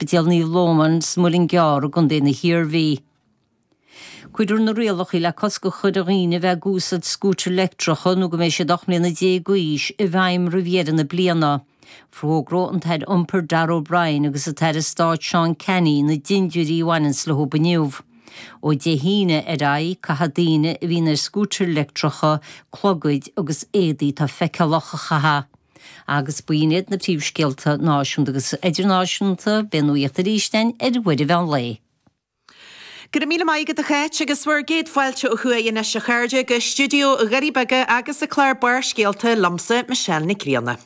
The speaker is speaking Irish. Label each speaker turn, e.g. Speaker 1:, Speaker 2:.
Speaker 1: Ospidéal Naomh Loman sa Muileann gCearr i gContae na hIarmhí. Cuirfear na rialacha le cosc a chur ar dhaoine a bheith ag úsáid scútair leictreacha nó go mbeidh siad 18 mbliana d'aois i bhfeidhm roimh dheireadh na bliana. Fógróidh an tAire Iompair Darragh O'Brien agus an tAire Stáit Seán Canney na dintiúirí a bhaineanns leo inniu. Ó Dé hAoine ar aghaidh, caithfidh daoine a bhíonn ar scútair leictreacha clogaid agus éadaí atá feiceálach a chaitheamh. Agus b'in iad na príomhscéalta náisiúnta agus idirnáisiúnta. Beidh an nuacht arís againn ar uair an mheán lae.
Speaker 2: Go raibh míle maith agat a Cháit agus bhur gcéad fáilte ó thuaidh anois a chairde go stiúideo Dhoirí Beaga agus an clár Barrscéalta liomsa Michelle Nic Grianna.